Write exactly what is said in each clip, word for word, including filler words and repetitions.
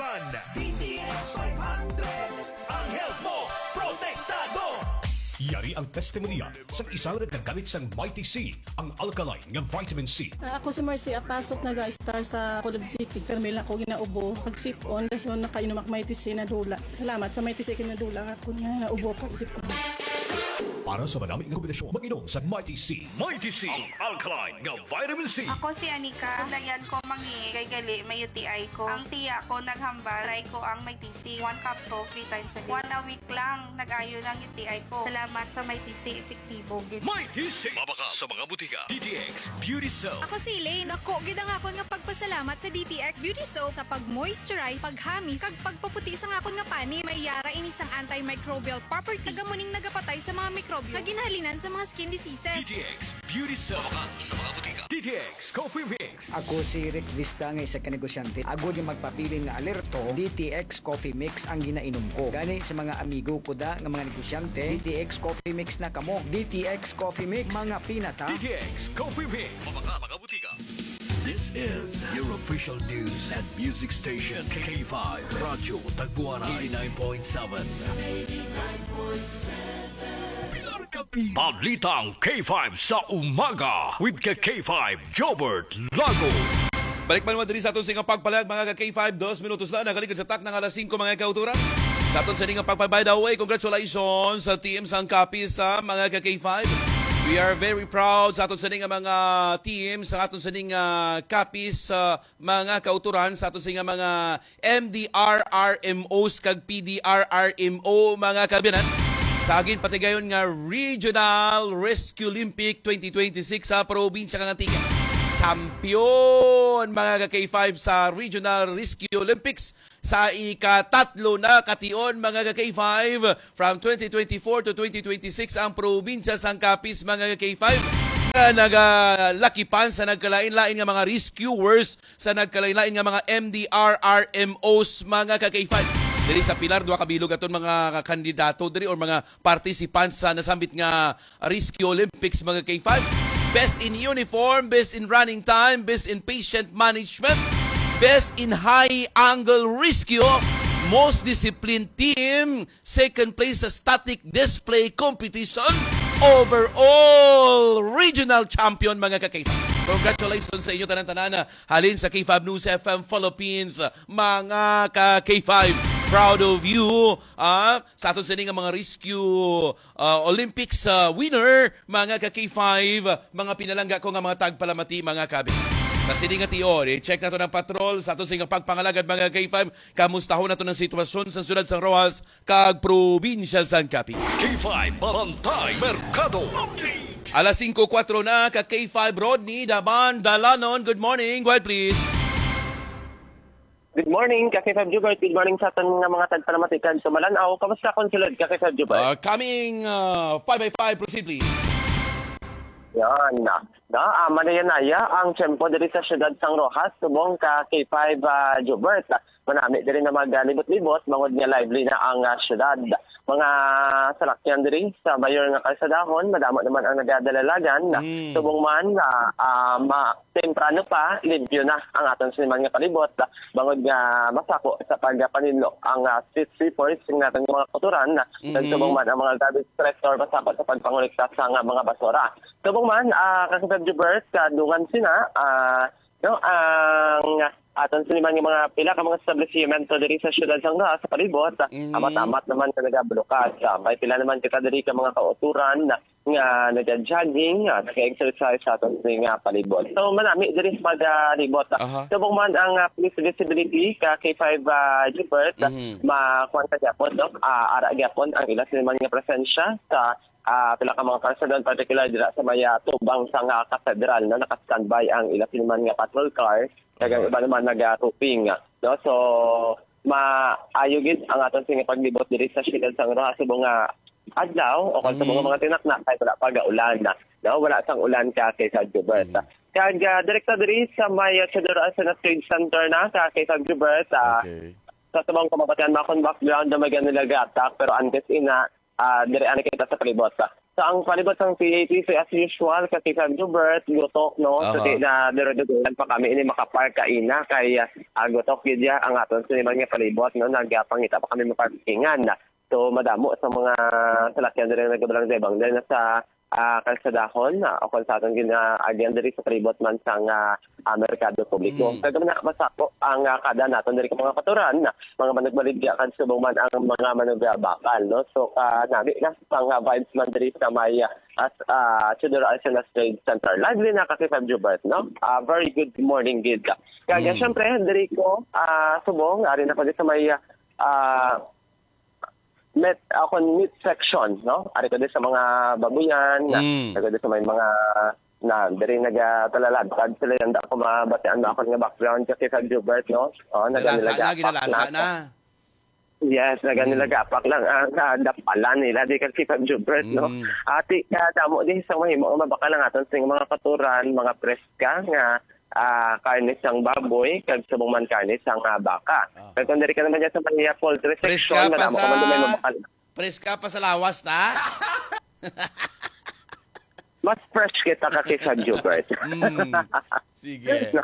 D T X five hundred, ang health mo, protektado! Yari ang testimonya sang isa nga nagkagamit sang Mighty C, ang alkaline nga vitamin C. Ah, ako si Marcy Apasok, naga-star sa Colod City. Pero may lang ako ginaubo, kag sipon, dason nakainom ako Mighty C, nadula. Salamat sa Mighty C, kinadula ako nga ubo, kag sipon. Para sa manami nga kombinasyon, mag-inom sa Mighty C. Mighty C, ang alkaline nga vitamin C. Ako si Anika. Layan ko mangi kay gali may U T I ko. Ang tiya ko naghambal, try ko ang Mighty C. One capsule, three times a day. One a week lang, nag-ayo lang U T I ko. Salamat sa Mighty C, epektibo gid. Mighty C. Mabakal sa mga butika. D T X Beauty Soap. Ako si Elaine. Dako gid ang akon nga pagpasalamat sa D T X Beauty Soap sa pag-moisturize, paghamis, kag pagpaputi sang akon nga panit. May yara ini sang antimicrobial property. Taga muning nagapatay sa mga mikrobyo nga ginhalinan sa mga skin diseases. D T X Beauty Soap. Mabakal sa mga butika. D T X Coffee Mix. Ako si Rick Vista nga isa ka negosyante. Agod nga magpabilin nga alerto, D T X Coffee Mix ang ginainom ko. Gani sa mga amigo ko da nga mga negosyante, D T X Coffee Mix na kamo. D T X Coffee Mix, mga pinata. D T X Coffee Mix. Mga, mga butika. This is your official news and music station, K five Radyo Tagbuanay, eighty-nine point seven. Pilar Capi. Balitang K five sa umaga with ka K five Jobert Lago. Balik man naman diri sa aton sa inyong pagpalag, mga ka K five, dos minutos na nakaligid sa takna nga alas singko, mga kauturan. Sa aton sa inyong pagpag-, by the way, congratulations sa team sang Capiz, sa mga ka K five. We are very proud sa aton sa inyong mga team, sa aton sa inyong, ah, Capiz, ah, mga kauturan, sa aton sa inyong mga M D R R M Os kag P D R R M O, mga kabinan. Sa agin patigayon nga Regional Rescue Olympic twenty twenty-six sa probinsya kang Antique. Champion, mga ka K five, sa Regional Rescue Olympics sa ikatatlo na kation, mga ka K five, from twenty twenty-four to twenty twenty-six ang probinsya sang Capiz, mga ka K five, nga nagalakipan sa nagkalain-lain nga mga rescuers sa nagkalain-lain nga mga M D R R M Os, mga ka K five. Diri sa Pilar, duha ka bilog aton mga kandidato diri or mga participants sa nasambit nga Rescue Olympics, mga K five. Best in uniform, best in running time, best in patient management, best in high angle rescue, most disciplined team, second place sa static display competition, overall regional champion, mga ka K five. Congratulations sa inyo tanan-tanan, ah, halin sa K five News F M Philippines, mga ka K five. Proud of you, ah, sa aton sini nga mga rescue, ah, Olympics, ah, winner, mga ka K five, mga pinalangga ko nga mga tagpalamati, mga kabi. Sa sini nga tion, i-check nato ang patrol sa aton sini nga pagpangalagad, mga K five. Kamustahon nato ang sitwasyon sa siyudad sang Roxas kag probinsya sang Capiz. K five Bantay Merkado Update. Alas singko kuwatro na, ka K five Rodney Daban Dalanon. Good morning. Go ahead, please. Good morning, ka K five Jubert. Good morning sa aton nga mga tagpalamati kag tumalan-aw. Kamusta kon sulod, ka K five Jubert? Uh, coming, uh, five by five, proceed, please. Yan. Na, ah, manaya-naya ang tiyempo diri sa siyudad sang Roxas, subong ka K five, ah, Jubert. Manami diri na magalibot-libot, bangod nga lively na ang, ah, siyudad. Mga salakyan diri sa mayor nga kalsadahon, madamo naman ang nagadalalagan. Mm. Subong man, ah, ah, ma-, temprano pa, limpyo na ang aton siniman nga palibot, bangod nga masako sa pagpaninlo ang, ah, street sweepers nga aton mga kauturan. Mm. Nagsubong man ang mga garbage collector, masako sa pagpangolekta sa nga mga basura. Subong man, ah, ka K five Jubert, kadungan sina, ah, no, ang aton siniman nga mga pila ka mga establishmento diri sa siyudad sang Roxas, sa palibot, Mhm. amat-amat naman nga nagabulukas. Ah, may pila naman kita diri ka mga kauturan nga nag-jogging, ah, nag-exercise sa aton sini nga palibot. So, manami diri sa pagpalibot. Aha. Subong man ang, ah, police visibility ka K five, ah, Jubert, Mhm. makuan ka gyapon, no? Ah, ara gyapon ang ila siniman nga presensya sa ah, pila ka mga kalsadon, particular dira sa may, ah, tubang sa nga katedral, no? Naka-standby ang ila siniman nga patrol car, kag ang Mhm. iba naman naga-roofing, no? So, maayo gid ang aton sini nga paglibot diri sa siyudad sang Roxas subong nga adlaw o kon subong nga Mhm. mga tinakna kay wala pa gaulan, no? Wala sang ulan ka K five Jubert. Mhm. Kag, ah, direkta diri sa may, ah, Theodore Arsenat Trade Center na ka K five Jubert, ah, Okay. sa tubang kamabatian, makon background na may ganun nag-attack, pero antes ina, ah, diri ani kita sa palibot, ah. So, ang palibot sang P A T C, as usual, kasi sa Jubert, gutok, no? So, Aha. di na, duro-duruhan pa kami ini makapark kaina kay, ah, ah, gutok gid ya ang aton siniman nga palibot, no? Nagapangita pa kami maparkingan. So, madamo sa mga salakyan diri nga nagabalang debang diri na sa, ah, kalsadahon, ah, o kung sa aton gina-, agyan diri sa palibot man sang, ah, ah, merkado publiko. Mm. Kag man masako ang, ah, kada naton diri ka mga katuran, mga manugbaligya kag subong man ang mga manugbakal, no? So, ah, nami na sang, ah, vibes man diri sa may, ah, as, ah, Theodore Arcenas Trade Center. Lively na kasi sa Jubert, no? Ah, very good morning gid. Kaya Mm. syempre, diri ko, ah, subong, ari na ko di sa may, ah, meat, ah, kon meat section, no? Ari ko di sa mga babuyan, na, Mm. ari ko di sa may mga, na, diri nagatalalagtad sila, yan ako mabatian na ako nga background kasi sa Jubert, no? Oh, Ginalasa na, nagamilaga ginalasa na. Yes, nagamilaga Mm. apak lang ang, ah, dapalan nila di kasi sa Jubert, no? Mm. Ati, ah, damo di sa mahimo nga mabakal ang aton sing mga katuran, mga preska nga, ah, karne sang baboy, kag subong man karne sang, ah, baka. Aha. Kag kung diri ka naman dyan sa Maria Poultry Preska Section, pa madamo sa, ka man naman mabakal. preska pa sa lawas, ta? Mas fresh kita ka kay sa Jubert. Mm. Sige. No?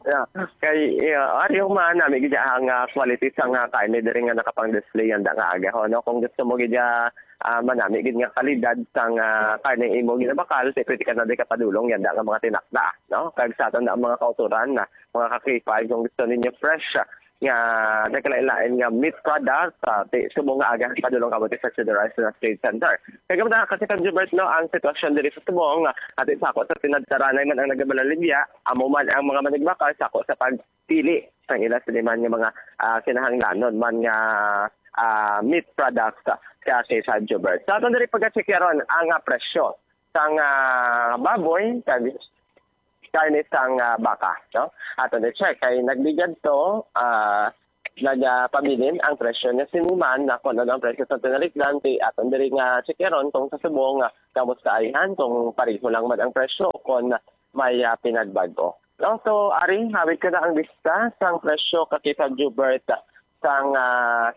Yeah. Kay, yeah, ari yung manami gid ang, ah, quality sang, ah, karne diri nga nakapang-display yan da nga aga, ho, no? Kung gusto mo gid, ah, ah, manami gid nga kalidad sang, ah, karne imo ginabakal, ti pwede ka na di kapadulong yan da nga mga tinakda, no? Kag sa aton na mga kauturan na, mga ka-K five, kung gusto ninyo fresh, ah, nga nagkalain-lain nga meat product, ah, ti subong nga aga padulong kamo ti sa Theodore Arcenas Trade Center. Kag man, kasi, Kag Jubert, no, ang sitwasyon diri sa subong, ah, ati sa ako sa tinadtaranay man ang nagabalaligya, amo man ang mga manigbakal sa ako sa pagpili sang ila siniman nga mga, ah, kinahanglanon man nga, ah, meat products, ah, sa, kay Kag Jubert. Sa aton diri pagkachekyaron ang, ah, presyo sang, ah, baboy kag karne sang, ah, baka, no? Aton i-check kay nagbigad to, ah, nagapabilin ang presyo niya siniman na kung ano ang presyo sa tinalikdan, ti aton diri nga checkeron kung sa subong nga kamusta ayhan, kung pareho lang man ang presyo, kung may, ah, pinagbag-o. No? So, ari, hawid ko na ang lista sang presyo ka, Kag Jubert, sang, ah,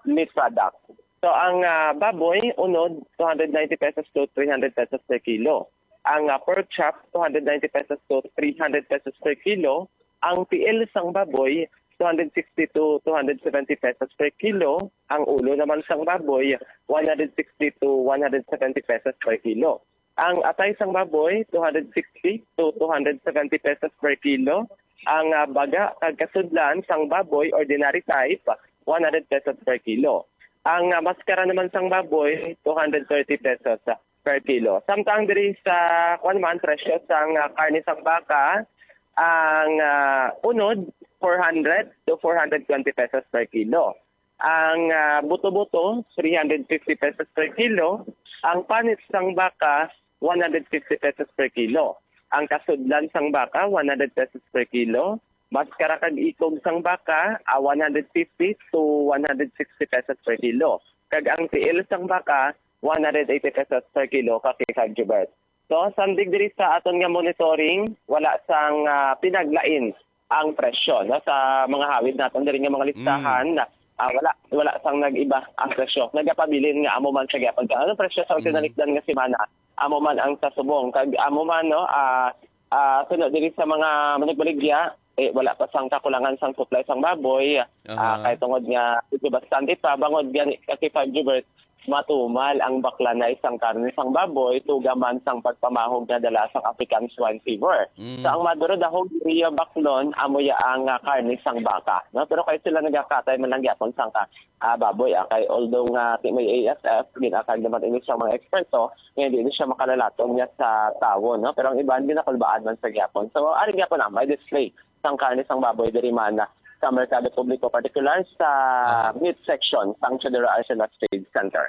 meat product. So, ang, ah, baboy, unod, two hundred ninety pesos to three hundred pesos per kilo. Ang, ah, pork chop, two hundred ninety pesos to three hundred pesos per kilo. Ang tiil sang baboy, two hundred sixty to two hundred seventy pesos per kilo. Ang ulo naman sang baboy, one hundred sixty to one hundred seventy pesos per kilo. Ang atay sang baboy, two hundred sixty to two hundred seventy pesos per kilo. Ang, ah, baga kag kasudlan sang baboy, ordinary type, one hundred pesos per kilo. Ang, ah, maskara naman sang baboy, two hundred thirty pesos per kilo. Samtang diri sa, kuwan man, presyo sang, ah, karne sang baka, ang, ah, unod, four hundred to four hundred twenty pesos per kilo. Ang, ah, buto-buto, three hundred fifty pesos per kilo. Ang panit sang baka, one hundred fifty pesos per kilo. Ang kasudlan sang baka, one hundred pesos per kilo. Maskara kag ikog sang baka, ah, one hundred fifty to one hundred sixty pesos per kilo. Kag ang tiil sang baka, one hundred eighty pesos per kilo, Kag Jubert. So, sandig diri sa aton nga monitoring, wala sang, ah, pinaglain ang presyo, no, sa mga hawid naton diri nga mga listahan. Mm. Ah, wala, wala sang nag-iba ang presyo. Nagapabilin nga amo man sa gyapon. Kung ano presyo sa Mm. tinalikdan nga semana, amo man ang sa subong. Kag amo man, no, ah, ah, suno diri sa mga manugbaligya, eh, wala pa sang kakulangan sang supply sang baboy. Ah, Aha. kay tungod nga medyo bastante pa, bangod gani, Kag Jubert, matumal ang baklanay sang karne sang baboy, tuga man sang pagpamahog nga dala sang African Swine Fever. Mm. Sa ang maduro dahog, iya baklon, amo ya ang, ah, karne sang baka, no? Pero kay sila nagakatay man lang gyapon sang ka, ah, baboy, ah, kay although nga ti may A S F, ginakag naman ini sa mga eksperto, nga hindi ni siya makalalaton niya sa tawo, no? Pero ang iban, ginakulbaan man sa gyapon. So, ari gyapon na, may display sang karne sang baboy diri man sa Merkado Publiko, partikular sa Ah. meat section sang Theodore Arcenas Trade Center.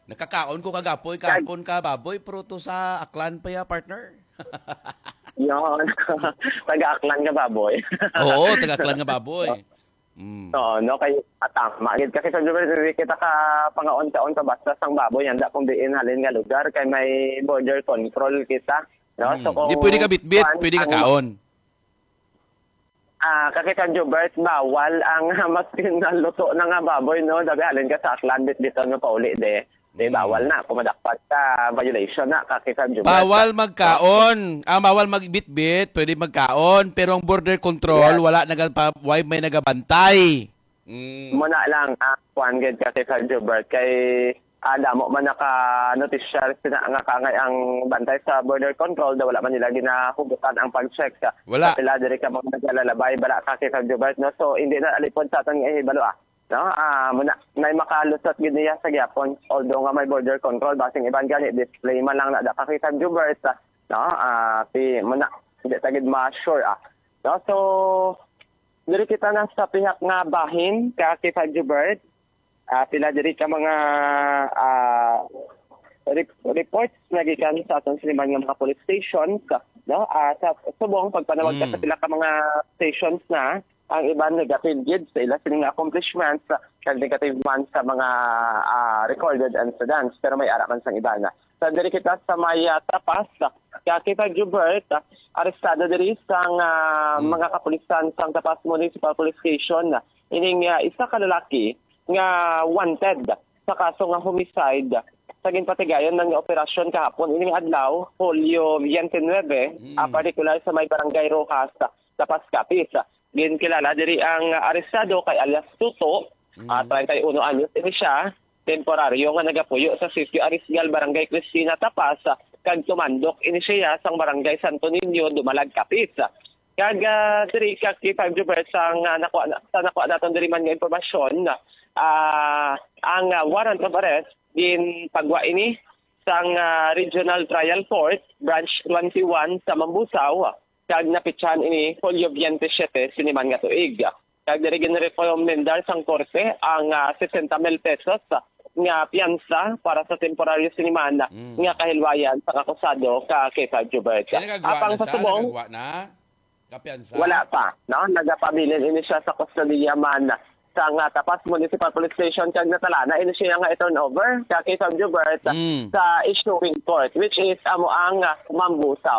Nakakaon ko kagapoy, Kag- kahapon ka baboy, pero to sa Aklan pa ya, partner. Yon. Taga-Aklan nga baboy. Oo, taga-Aklan nga baboy. Mm. Oo, no, kay, ah, tama gid kasi sa lugar, dili kita ka pangaon-kaon ka basta sang baboy, handa kung diin halin nga lugar, kay may border control kita, no? So, Mm. Di kung pwede ka bitbit, kuwan, pwede ka ang kaon. Ah, kay sa Jubert, bawal ang maskin na luto na nga baboy, no? Dabi halin ka sa Aklan, bitbiton mo pauli, de. Di, Mm. bawal na. Kung madakpan ka, violation na, ka K five Jubert. Bawal magkaon. Ah, bawal magbitbit, pwede magkaon, pero ang border control, Yes. wala nagapa, why may nagabantay? Mm. Muna lang, ah, kuwan gid ka K five Jubert, kay ah, damo man naka-notisyar sina nga kangay ang bantay sa border control, daw wala man nila ginahugutan ang pag-check sa Wala. sa pila diri ka mga naglalabay, bala ka K five Jubert, no? So, hindi na alipod sa aton nga ihibalo, ah. No? Ah, muna, may makalusot gid niya sa gyapon. Although nga may border control, basing iban gani, display man lang na da ka K five Jubert, ah, no? Ah, si, muna, hindi ta gid ma-sure, ah. No? So, diri kita na sa pihak nga bahin ka K five Jubert. Ah, pila diri ka mga ah, rep- reports na gikan sa aton siniman nga mga police stations, no? Ah, sa subong pagpanawag ka Mm. sa pila ka mga stations na ang iban negative gid sa ila sining accomplishments, ah, kag negative man sa mga ah, recorded incidents, pero may ara man sang iban. Sa diri kita sa may ah, Tapas, ka K five Jubert, ah, arestado diri sang ah, Mm. mga kapulisan sang Tapas Municipal Police Station ining ah, isa ka lalaki nga wanted sa kaso nga homicide sa ginpatigayon man nga operasyon kahapon ining adlaw, Hulyo twenty-nine, Mm. ah, partikular sa may Barangay Rojas, Tapas, Capiz. Ginkilala diri ang arestado kay alias Tuto, Mm. ah, treinta y uno anyos ini siya, temporaryo nga nagapuyo sa Sitio Arisgal, Barangay Cristina, Tapas, kag tumandok ini siya sang Barangay Santo Niño, Dumalag, Capiz. Kag ah, diri ka K five Jubert, sa nga nakuha na, sa nakuha naton diri man nga impormasyon, ah, ang ah, warrant of arrest ginpagwa ini sang ah, Regional Trial Court, Branch twenty-one sa Mambusao, kag napitsahan ini Hulyo twenty-seven sini man nga tuig. Kag diri ginrekomendar sang korte ang ah, sesenta mil pesos nga piyansa para sa temporaryo sini man Mm. nga kahilwayan sang akusado ka K five Jubert. Kaya nagagwa Apang na sa siya? subong, Nagagwa na? Kapiyansa? Wala pa, no? Nagapabilin ini siya sa kustodiya man sa nga Tapas Municipal Police Station, kag natalana ini siya nga i-turnover ka K five Jubert Mm. sa issuing court, which is amo ang ah, Mambusao.